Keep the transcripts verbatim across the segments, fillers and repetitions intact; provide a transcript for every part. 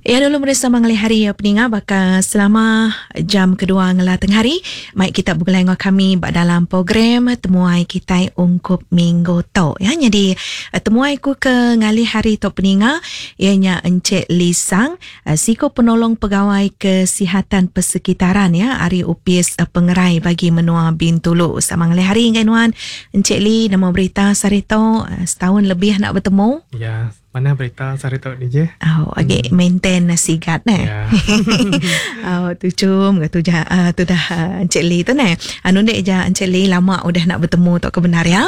Ya dulu bersama ngalih hari peninga baka selama jam kedua ngelah tengah hari mai kita begulai dengan kami ba dalam program temuai kita ungkup minggu tu ya. Jadi temuai ku ke ngalih hari tu peninga ianya Encik Lisang, siko penolong pegawai kesihatan persekitaran ya ari Upis Pengerai bagi menua Bintulu. Sama ngalih hari ngai nuan Encik Lee, nama berita sarito setahun lebih nak bertemu. Ya. Mana berita sehari tu D J? Oh, agi hmm. maintain sigat ne. Yeah. Oh, tu cum ke tu jah uh, tu dah uh, Encik Lee tu ne. Anu dek ja Encik Lee lama udah nak bertemu tu kebenar ya.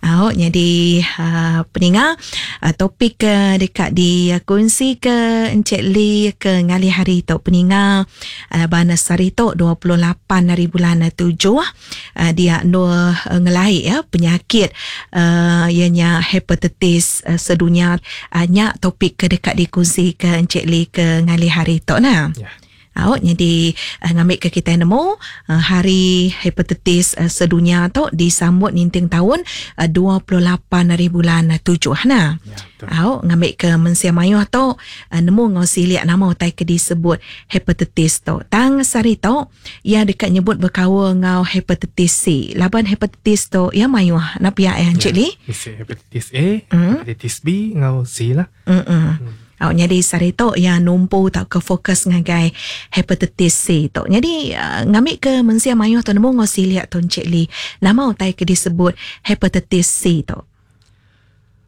Oh, oh jadi uh, peninga uh, topik ke dekat di uh, kongsi ke Encik Lee ke ngalih hari tu peninga uh, bana sehari tu dua puluh lapan hari bulan tujuh uh, dia nur uh, ngelai ya penyakit uh, ianya hepatitis uh, sedunia. Uh, nyak topik ke dekat dikongsi ke Encik Lee ke ngalih hari tu nah. Ya. Awak jadi uh, ngambil ke kita nemu uh, hari hepatitis uh, sedunia tu disambut ninting tahun uh, dua puluh lapan hari bulan tujuh nah. Ya, betul. Awak ngambil ke mensia mayuh tu uh, nemu ngau siliak nama utai ke disebut hepatitis tu. Tang sari tu ia dekat nyebut berkawa ngau hepatitis C. Laban hepatitis tu ia mayuh nak pihak ya Encik Lee. Hepatitis A, hmm? hepatitis B ngau C lah. Mm-mm. Hmm. Awak jadi sari tu yang numpu tak ke fokus ngagai hepatitis C tu. Jadi uh, ngambil ke mensia mayuh tu nemu ngosi lihat tu Encik Lee. Nama utai ke disebut hepatitis C tu.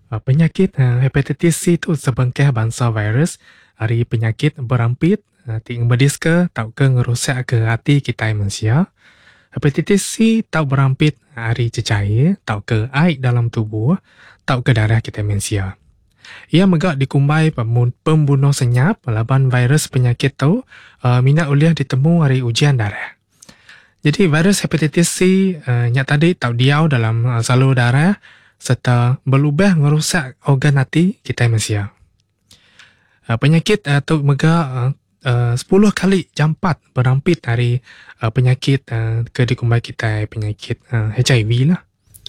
Uh, penyakit uh, hepatitis C tu sebengkah bangsa virus hari penyakit berampit uh, ti medis ke tau ke ngerusak ke hati kita manusia. Hepatitis C tau berampit hari cecair tau ke air dalam tubuh tau ke darah kita manusia. Ia megak dikumbai pembunuh senyap laban virus penyakit tu uh, minat uliah ditemu hari ujian darah. Jadi virus hepatitis C uh, nyak tadi tau diau dalam uh, salur darah serta berlubah ngerusak organ hati kita manusia. Uh, penyakit uh, tu megak uh, uh, sepuluh kali jampat berampit hari uh, penyakit uh, ke dikumbai kita penyakit uh, H I V lah.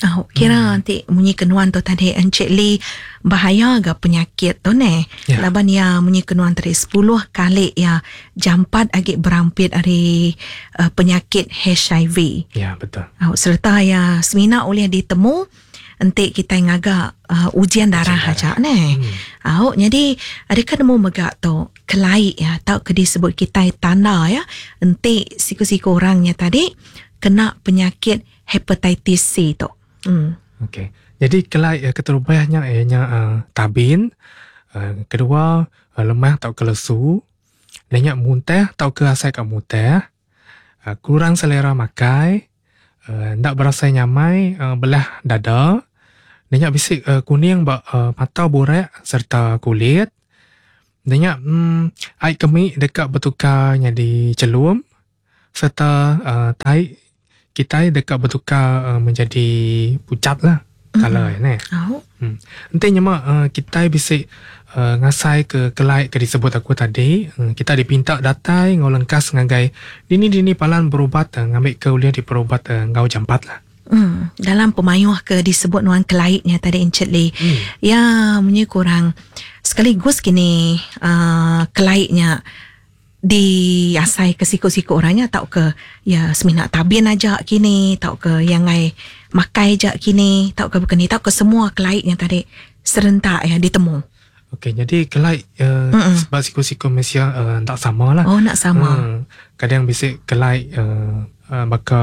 Oh, kira hmm. nanti munyi kenuan tu tadi Encik Lee bahaya ke penyakit tu ne. Ya. Laban ya munyi kenuan tadi sepuluh kali ya jampat agak berampit dari uh, penyakit H I V. Ya, betul. Oh, serta ya semina oleh ditemu entik kita ngagak uh, ujian darah aja ne. Hmm. Oh, jadi adakah nemu megak tu kelai ya tau ke disebut kita tanda ya entik siku-siku orangnya tadi kena penyakit hepatitis C tu. Hmm. Okey. Jadi kelai uh, keterubahnya ianya uh, tabin, uh, kedua uh, lemah tau ke lesu, lenyak muntah tau ke asai kat muntah, uh, kurang selera makai, uh, ndak berasa nyamai uh, belah dada, lenyak bisik uh, kuning bak uh, mata borak serta kulit, lenyak um, air kemik dekat bertukar jadi celum serta uh, tai kita dekat bertukar uh, menjadi pucat lah mm-hmm. Color ni. Oh. Hmm. Nanti nyemak uh, kita bisa uh, ngasai ke kelai ke disebut aku tadi, uh, kita dipinta datai ngau lengkas ngagai dini-dini palan berubat uh, ngambil ke uliah di perubat uh, ngau jampat lah. Hmm. Dalam pemayuh ke disebut nuan kelaiknya tadi Encik Lee. Hmm. Ya, munyi kurang sekaligus kini uh, kelaiknya di asai ke siku-siku orangnya tau ke ya semina tabin aja kini tau ke yang ai makai aja kini tau ke bukan ni tau ke semua kelaiknya tadi serentak ya ditemu. Okey, jadi kelaik uh, sebab siku-siku manusia uh, tak sama lah. Oh, nak sama. Hmm, kadang bisik kelaik uh, uh, maka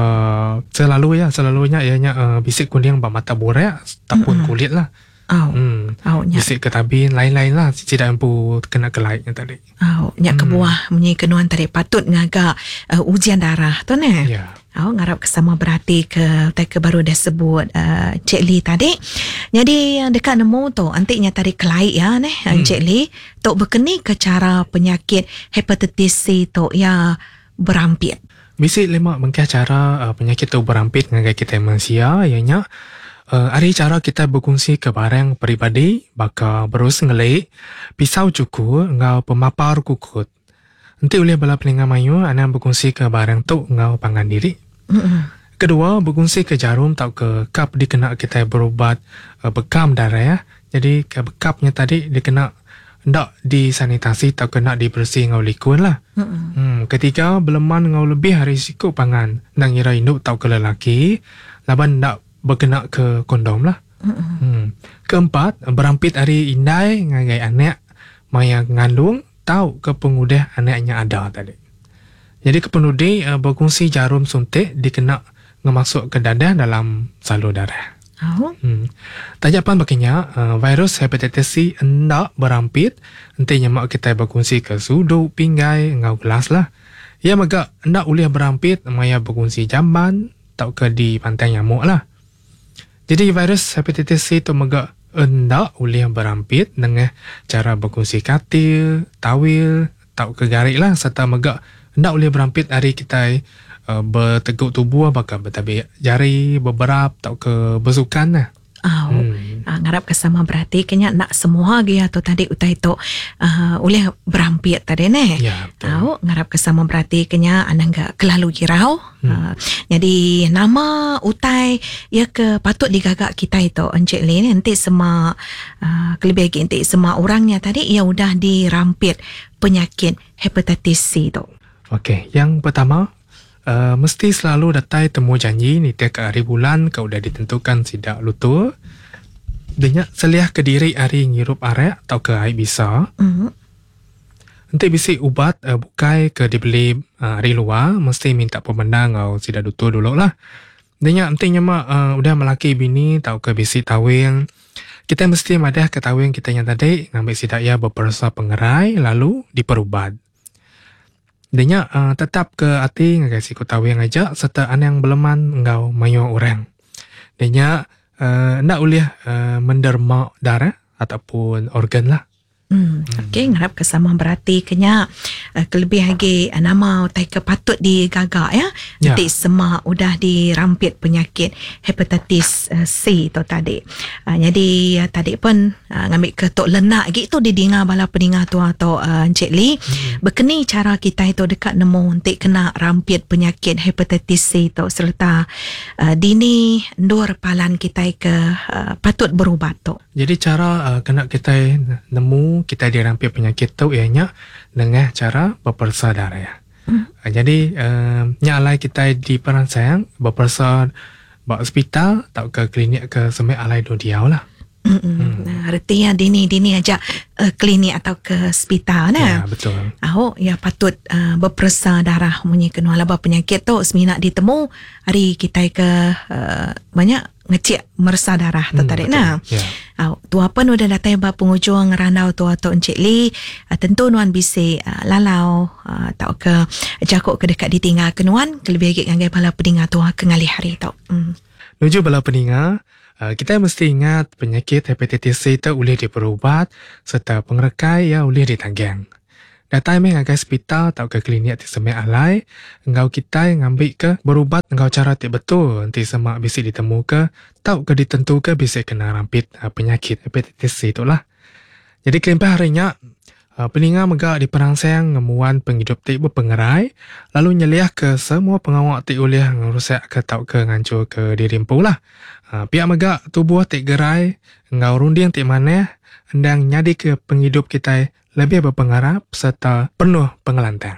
selalu ya selalunya ianya uh, bisik kuning bak mata borak ataupun kulit lah. Oh. Hmm. Oh, nyak. Bisik ke tabin lain-lain lah tidak mampu kena kelaiknya tadi. Oh, nyak hmm. kebuah munyi kenuan tadi patut ngagak uh, ujian darah tu ne. Ya. Oh, ngarap kesama berarti ke tai ke baru dah sebut uh, Cik Lee tadi. Jadi dekat nemu tu antiknya tadi kelaik ya neh hmm. Cik Lee tok berkeni ke cara penyakit hepatitis C tu ya berampit. Bisik lima bengkah cara uh, penyakit tu berampit ngagai kita manusia ianya Uh, hari cara kita berkongsi ke barang peribadi, baka berus ngelik, pisau cukur, ngau pemapar kukut. Nanti oleh bala peningan mayu, anda berkongsi ke barang tu ngau pangan diri. Mm-hmm. Kedua, berkongsi ke jarum tau ke kap dikena kita berubat uh, bekam darah ya. Jadi ke bekapnya tadi dikena ndak disanitasi atau kena dibersih ngau likun lah. Mm-mm. Hmm, ketiga beleman ngau lebih hari siku pangan nang ngira induk tau ke lelaki laban ndak berkena ke kondom lah. Mm-mm. Hmm. Keempat, berampit hari indai ngagai anak maya ngandung tau ke pengudah anaknya ada tadi. Jadi kepenudi uh, berkongsi jarum suntik dikena ngemasuk ke dadah dalam salur darah. Oh. Hmm. Tajapan baginya uh, virus hepatitis C hendak berampit enti nyemak kita berkongsi ke sudut pinggai ngau gelas lah. Ia megak hendak boleh berampit maya berkongsi jamban tau ke di pantai nyamuk lah. Jadi virus hepatitis C tu megak hendak boleh berampit dengan cara berkongsi katil, tawil, tau ke garik lah serta megak hendak boleh berampit hari kita uh, berteguk tubuh bakal bertabik jari, berberap tau ke bersukan lah. Oh. Hmm. Uh, ngarap ke sama berarti kena nak semua lagi atau tadi utai tu uh, oleh berampit tadi ne. Ya, betul. Tahu ngarap ke sama berarti kena anang gak kelalu girau. Hmm. Uh, jadi nama utai ya ke patut digagak kita itu Encik Lee ni nanti semua uh, kelebih lagi nanti semua orangnya tadi ia udah dirampit penyakit hepatitis C tu. Okey, yang pertama Uh, mesti selalu datai temu janji ni tiap hari bulan kau udah ditentukan sidak lutur. Denyak seliah ke diri hari ngirup arak atau ke air bisa. Mm-hmm. Nanti bisi ubat uh, bukai ke dibeli uh, hari luar mesti minta pemendang atau sidak lutur dulu lah. Denyak nanti nyemak uh, udah melaki bini atau ke bisi tawing. Kita mesti madah ke tawing kita yang tadi ngambil sidak ya berpersa pengerai lalu diperubat. Denya uh, tetap ke hati ngagai siku tawing aja serta anang beleman engau mayo orang. Denya uh, ndak boleh uh, menderma darah ataupun organ lah. Hmm, okey, ngarap ke sama berarti kenya uh, kelebih lagi uh, nama utai ke patut digagak ya. Ya. Nanti semak udah dirampit penyakit hepatitis uh, C tu tadi. Uh, jadi uh, tadi pun uh, ngambil ke tok lenak lagi tu didinga bala peninga tu atau uh, Encik Lee. Hmm. Berkeni cara kita itu dekat nemu untuk kena rampit penyakit hepatitis C tu serta uh, dini ndur palan kita ke uh, patut berubat tu. Jadi cara uh, kena kita nemu kita dirampit penyakit tu ianya dengan cara berpersa darah. Hmm. Uh, jadi uh, nyalai kita di perangsang berpersa ba hospital atau ke klinik ke semek alai do diau lah. Hmm. Hmm. Artinya dini-dini aja uh, klinik atau ke hospital nah. Ya, betul. Ahok ya patut uh, berpersa darah munyi kena laba penyakit tu seminak ditemu hari kita ke uh, banyak ngecek mersa darah tu Hmm, tadi betul. nah. Ya. Au, tua pun udah datang ba penghujung randau tua tu Encik Lee, uh, tentu nuan bisi uh, lalau uh, tau ke jakuk ke dekat ditinggal ke nuan kelebih lagi ngagai bala peninga tua ke ngalih hari tu. Hmm. Menuju bala peninga, uh, kita mesti ingat penyakit hepatitis C itu boleh diperubat serta pengerekai ya boleh ditanggang. Datai meh ngagai hospital atau ke klinik ti semek alai, engau kita ngambil ke berubat engau cara ti betul nanti semak bisi ditemu ke tau ke ditentu ke bisi kena rampit uh, penyakit hepatitis C itulah. Jadi kelimpah harinya uh, peninga megak di perangsang ngemuan penghidup ti berpengerai lalu nyeliah ke semua pengawak ti ulih ngerusak ke tau ke ngancur ke diri empu lah. Uh, pihak megak tubuh ti gerai engau runding ti maneh endang nyadi ke penghidup kita lebih berpengarap serta penuh pengelantang.